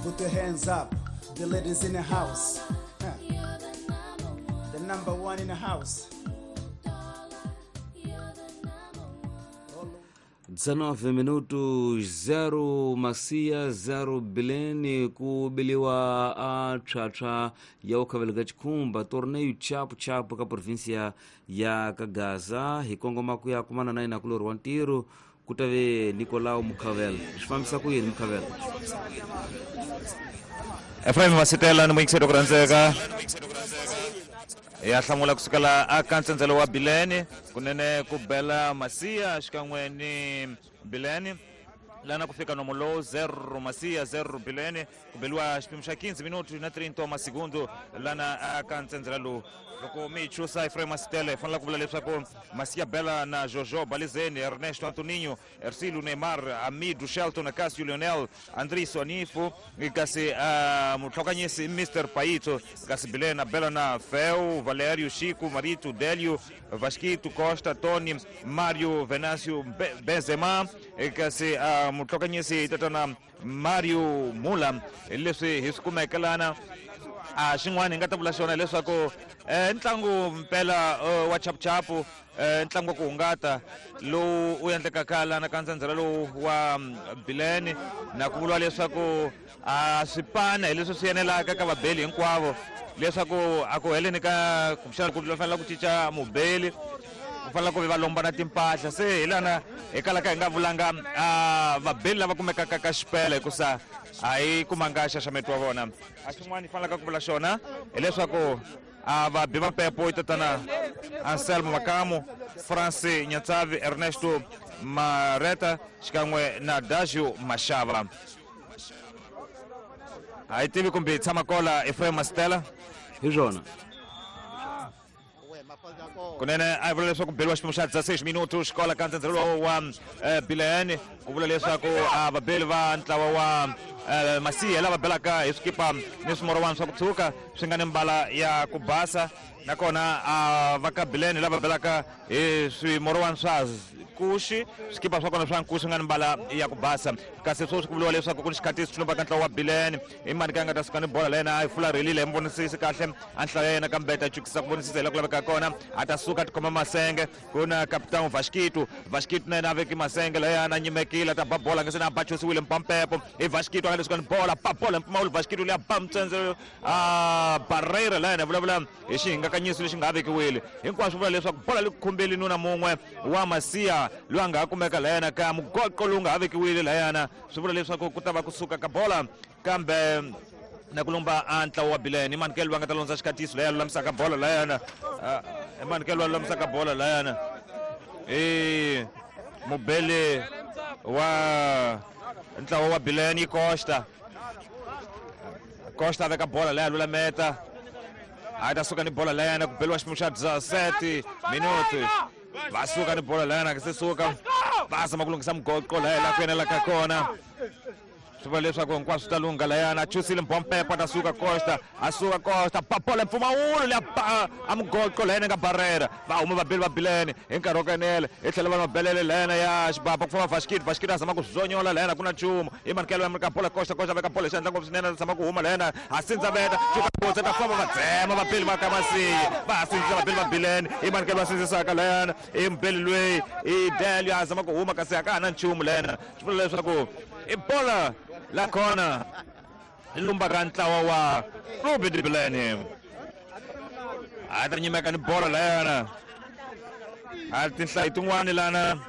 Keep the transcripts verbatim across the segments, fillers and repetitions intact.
Put your hands up, the ladies in the house. Huh. The number one in the house. dezenove minutos zero Macia zero Bilene ku biliwa a tshwatshwa ya ukhaveleka chikhumba torneio chapu chapu ka província ya Kagaza hi kongoma ku ya kumana na yena kulori wa ntirho ku ta ve Nicolau Mukhavela. Swi fambisa ku yini Mukhavela? Efraim Masitela ni muyingiseri ku rhandzeka ya hlamula kusukela aka ntsendzelo wa Bilene kunene ku bela Masia xikan'we ni Bilene lana ku fika nomo lowu zero Masia zero Bilene ku beliwa xipimo xa quinze minutos na trinta masegundo lana aka ntsendzela lowu. Loko mi chusa Efraim Masitela hi fanele ku vula leswaku Masia bela na Jojo Balizeni, Ernesto Antoninho, Ercílio Neymar, Amido Shelton, Cássio Lionel, Andriso Anifo, kasi uh, mutlhokanyisi Mister Paito, kasi Bilena bela na Fel, Valério, Chico, Marito, Délio, Vasquito, Costa, Tony, Mário, Venâncio, Be Benzema, kasi uh, mutlhokanyisi tatana Mário Mula. Leswi hi swi kumeke lana a xin'wana hi nga ta vula xona leswaku ntlangu mpela wa chapuchapu ntlangu wa ku hungata lowu u endlekaka lana ka ntsendzela lowu wa Bilene na ku vuriwa leswaku a swi pana hi leswi swi enelaka ka vabeli hinkwavo leswaku a ku heleni ka kumbexana ku fanela ku cinca mubeli ku fanela ku va lomba na timpahla se hi lana hi kalaka hi nga vulanga vabeli lava kumekaka ka xipela hikusa a hi kumanga xaxameto wa vona. A xin'wana hi fanelaka ku vula xona hileswaku a vabi va pepo i tatana Anselmo Makamu, France Nyatsavi, Ernesto Mareta xikan'we na Dagio Mashava. A hi tivi kumbe hi tshama kola Efraim Masitela hi swona. Kunene a vula leswaku beliwa xipimo xa dezesseis minutos xikola ka ntsendzelo wa Bilene ku vula leswaku a vabeli va ntlawa wa Masia lava belaka hi swikipa ni swimorowani swa ku tshuka swi nga ni mbala ya ku basa nakona a va ka Bilene lava belaka hi swimorowani swa nkuxi swikipa swa kona swa nkuxi swi nga ni mbala ya ku basa. Kasi sweswi ku vuriwa leswaku ku ni xikhatisi xi lombaka ntlawa wa Bilene i mani ka nga ta suka ni bola la yena a yi fularhelile hi mi vonisisi kahle a nhlayo ya yena kambe ta chukisa ku vonisisa hi la ku laveka kona a ta suka a tikhoma masenge ku na kapitano Vasquito. Vasquito na yena a veki masenge layana a nyimekile a ta ba bola nga se na a bachosiwile mpampepo i Vasquito a nga le suka ni bola ba bola mpfumawulo Vasquito leyi a ba mutsendzelo a Barreira la yena vulavula hi xihingakanyiso lexi nga ha vekiwile hinkwaswo vula leswaku bola li khumbeli nuna mun'we wa Masia loyi a nga ha kumeka layana ka mugoqo lowu nga ha vekiwile layana swi vula leswaku ku ta va kusuka ka bola kambe na ku lomba a ntlawa wa Bilene i Manikelo va nga ta londza xikatiso leyi a lulamisaka bola layana i Manikelo va lulamisaka bola layana i mubeli wa ntlawa wa Bilene i Costa. Costa a veka bola leyi a lulameta a ta suka ni bola layana ku beliwa xipimo xa dezessete minutos va suka ni bola layana ka se suka va zama ku lunghisa mugoqo laya la ku enelaka kona swi vula leswaku hinkwaswo swi ta lungha layana a chusile mbompepo a ta suka Costa a suka Costa ba bola mpfumawulo leya ba a mugoqo layana nga Barreira va huma vabeli va Bilene hi nkarhi wa ku enela hi tlhela va mabelele layana ya xibaba ku famba Vasquito. Vasquito a zama ku zonyola layana ku na nchumu i Manikelo ya ka bola Costa. Costa veka bola xandla ngopfu swinene a zama ku huma layana a sindza veta cuka ta famba va dzema vabeli va ka Masia va sindzisa vabeli va Bilene i Manikelo va sindzisaka layana i mubeli loyi i Delio a zama ku huma kasi a ka ha na nchumu layana swi vula leswaku i bola la kona lumba ka ntlawa wa Clube de Bilene a ta nyimeka ni bola layana a tinhlayo tin'wani lana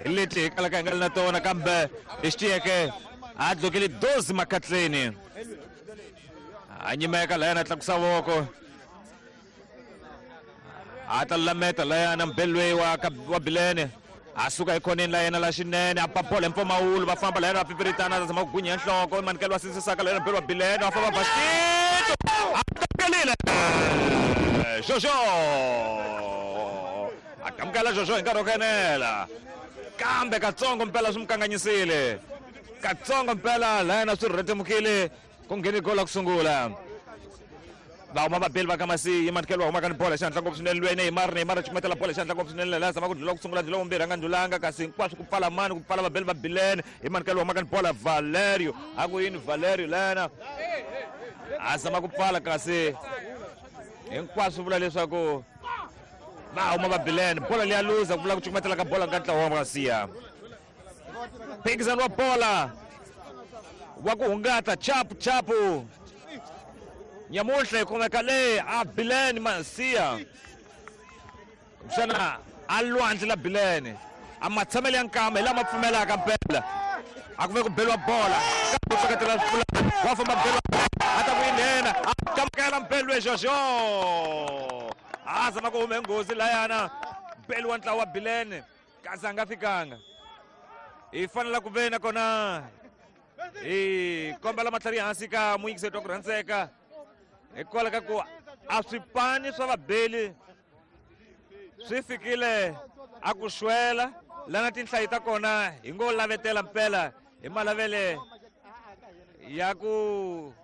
hi leti hi kalaka hi nga ri na tona kambe hi xitiyeke a dlokele doze makatleni a nyimeka layana a tlakusa voko a ta lulameta layana mubeli loyi wa wa Bilene a suka ekhoneni la yena la xinene a ba bola hi mpfumawulo va famba layena va pipiritana a zama ku gwinya nhloko Manikelo wa sindzisaka layena mubeli wa Bilene va famba Vasquito a takelile Jojo a kamukela Jojo hi nkarhi wa ku enela kambe katsongo mpela swi mu kanganyisile katsongo mpela layena swi rhetemukile ku ngheni gola ku sungula. Va huma vabeli va ka Masiya Manikelo wa huma ka ni bola xandla ngopfu swinene lweyi Neymar Neymar cukumetela bola xandla ngopfu swinene laha zama ku ndlula ku sungula ndlula vumbirhi a nga ndlulanga kasi hinkwaswo ku pfala mani ku pfala vabeli va Bilene hi Manikelo wa huma ka ni bola Valerio a ku yini Valerio lena a zama ku pfala kasi hinkwaswo vula leswaku va huma va Bilene bola leya luza ku vula ku cukumetela ka bola ka ntlawa wa Masiya phikizano wa bola wa ku hungata chapu chapu nyamuhla hi kumeka le a Bilene Masiya kumbexana a lwandle la Bilene a matshamelo ya nkama hi lama pfumelaka mpela a ku ve ku beliwa bola kambe u tsaketela swipulana wa famba beliwa a ta ku yi nghena a kamukela mpelo Jojo a zama ku hume nghozi layana beliwa ntlawa wa Bilene kasi a nga fikanga hi fanela ku ve nakona hi kombela matlhari hansi ka muyingiseti wa ku rhandzeka hikwalaho ka ku a swipani swa vabeli swi fikile a ku xwela lana tinhlayo ta kona hi ngo lavetela mpela hi malavele ya ku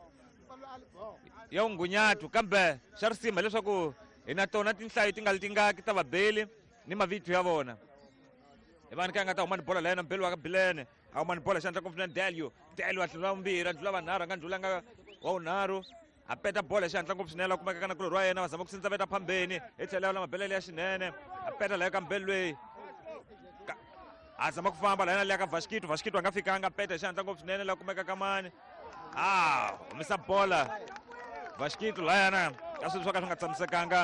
ya vungunyatu kambe xa risima leswaku hi na tona tinhlayo ti nga li tingaki ta vabeli ni mavito ya vona hi vani ka nga ta huma ni bola layena mbeli wa ka Bilene a huma ni bola xandla ngopfu na Delio Delio a tlula vumbirhi a ndlula vanharhu a nga ndlulanga wa vunharhu a peta bola xandla ngopfu swinene a kumeka ka nakulorhi wa yena va zama ku sindza veta phambeni hi tlhela la mabelele ya xinene a peta laya ka mbeli loyi a zama ku famba layena liya ka Vasquito Vasquito a nga fikanga a peta hi xandla ngopfu swinene la kumeka ka mani a humisa bola Vasquito layana ka swilo swo ka swi nga tshamisekanga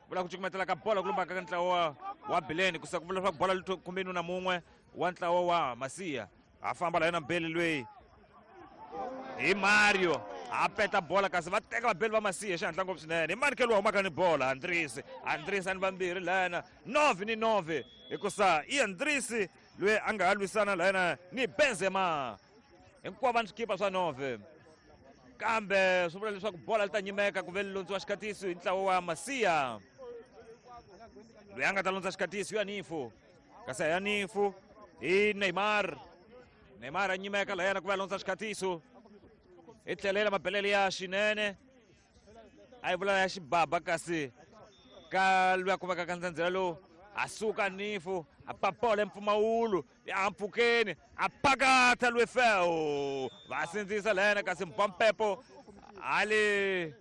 vula ku cukumetela ka bola ku lumbaka ka ntlawa wa Bilene ku ku vula leswaku bola li khumbeni na mun'we wa ntlawa wa Masiya a famba layena mbeli loyi hi Mario a peta bola kasi va teka vabeli va Masiya xihatla ngopfu swinene hi Manikelo wa humaka ni bola Andrisi Andrisi a ni vambirhi layena Novi ni Novi hikusa i Andrisi loyi a nga ha lwisana layena ni Benzema hinkwavo va ni swikipa swa Novi kambe swi vula leswaku bola li ta nyimeka ku ve li londziwa xikatiso hi ntlawa wa Masiya loyi a nga ta londza xikatiso ya Nifu kasi a ya Nifu hi Neymar Neymar a nyimeka layena ku va londza xikatiso hi tlhelela mabelele ya xinene a yi vula ya xibaba kasi ka loyi a kumeka ka ndzandzela lowu a suka Nifu a papola empfumawulo ya mpfhukeni a pakata lwe feo va sindzisa layena kasi Mpampepo ali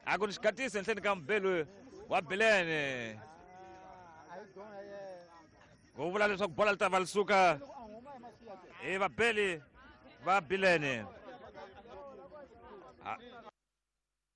a ku ni xikatiso henhleni ka mbelu wa Bilene ku vula leswaku bola li ta va li suka hi vabeli va Bilene.